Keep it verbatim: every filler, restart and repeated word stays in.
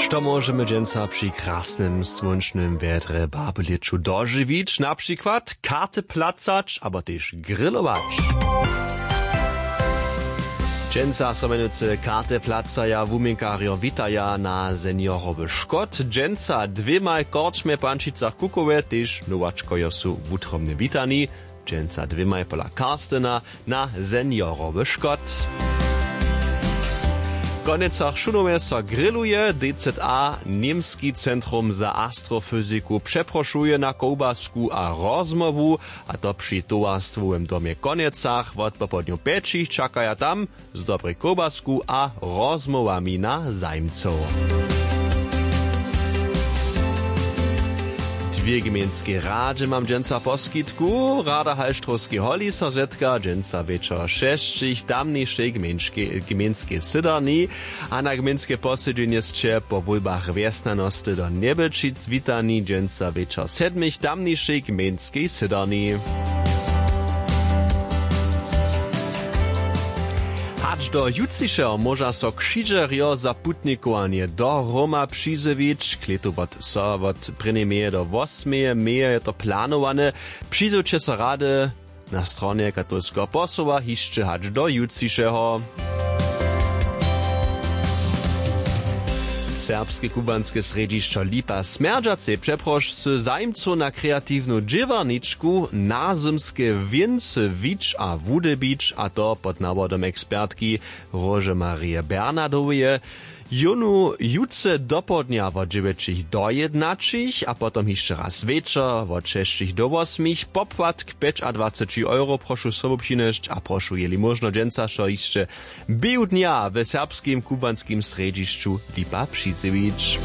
Što móžemy dźensa při krasnym słónčnym wjedrje w Babylěću dožiwić? Na přikład karty placać abo tež grilować. Dźensa so mjenujcy karty placaja, wuměnkarjo witaja na seniorowy škot. Dźensa dwěmaj korčmje w Pančicach Kukowe tež nowačkojo su wutrobnje witani. Dźensa dwěmaj pola Karstena na seniorowy škot. W Konjecach Šunowje so grilluje. D Z A, Němski centrum za astrofyziku, přeprošuje na kołbasku a rozmołwu, a to při towarstwowym domje w Konjecach. Wot popołdnju pjećich čakaja tam z dobrej kołbasku a rozmołwami na zajimcow. Dwě gmejnskej radźe mam dźensa w poskitku. Rada Halštrowskej holi so zetka dźensa wječor šesćich w tamnišej gmejnskej sydarni, a na gmejnske posedźenje sće po wólbach wjesnjanosty do Njebjelčic witani dźensa wječor sedmich w tamnišej gmejnskej sydarni. Hač do jutřišeho móža so křižerjo za putnikowanje do Roma přizjewić. Klětu wot so wot prěnjeje meje do wosmeje meje je to planowane. Přizjewće so rady na stronje katolskeho posoła hišće hač do jutřišeho. Serbske kubłanske srjedźišćo Lipa Smjerdźacej přeprošcy zajimcow na kreatiwnu dźěłarničku nazymske wěncy wić a wudybić, a to pod nawodom ekspertki Róže Marije Bernardoweje. Jónu jutře dopołdnja wot dźewjećich do jědnaćich a potom hišće raz wječor wot šesćich do wosmich. Popłatk pjećadwaceći euro. Prošu sobu přinjesć a prošu, jeli móžno, dźensa so hišće běhu dnja w serbskim kubłanskim srjedźišću Lipa přizjewić.